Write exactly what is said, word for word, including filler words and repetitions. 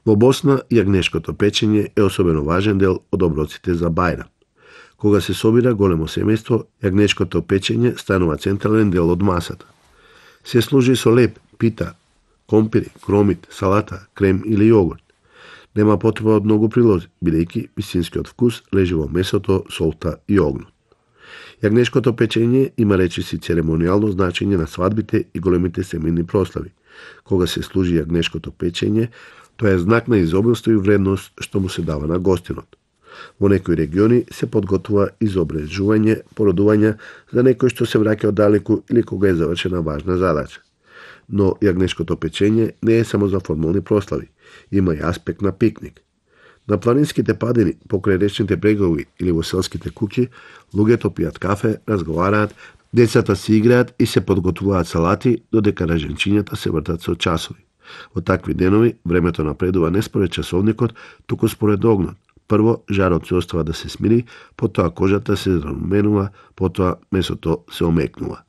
Во Босна, јагнешкото печење е особено важен дел од оброците за Бајрам. Кога се собира големо семејство, јагнешкото печење станува централен дел од масата. Се служи со леп, пита, компири, кромит, салата, крем или јогурт. Нема потреба од многу прилози, бидејќи вистинскиот вкус лежи во месото, солта и огнот. Јагнешкото печење има речиси церемонијално значење на свадбите и големите семејни прослави. Кога се служи јагнешкото печење, тоа е знак на изобилство и вредност што му се дава на гостинот. Во некои региони се подготвува изобрежување, породување за некој што се враќа оддалеку или кога е завршена важна задача. Но јагнешкото печење не е само за формални прослави, има и аспект на пикник. На планинските падини, покрај речните брегови или во селските куќи, луѓето пијат кафе, разговараат, децата си играат и се подготвуваат салати, додека раженчињата се вртат со часови. Во такви денови времето напредува не според часовникот, туку според огнот. Прво жарот се остава да се смири, потоа кожата се заруменува, потоа месото се омекнува.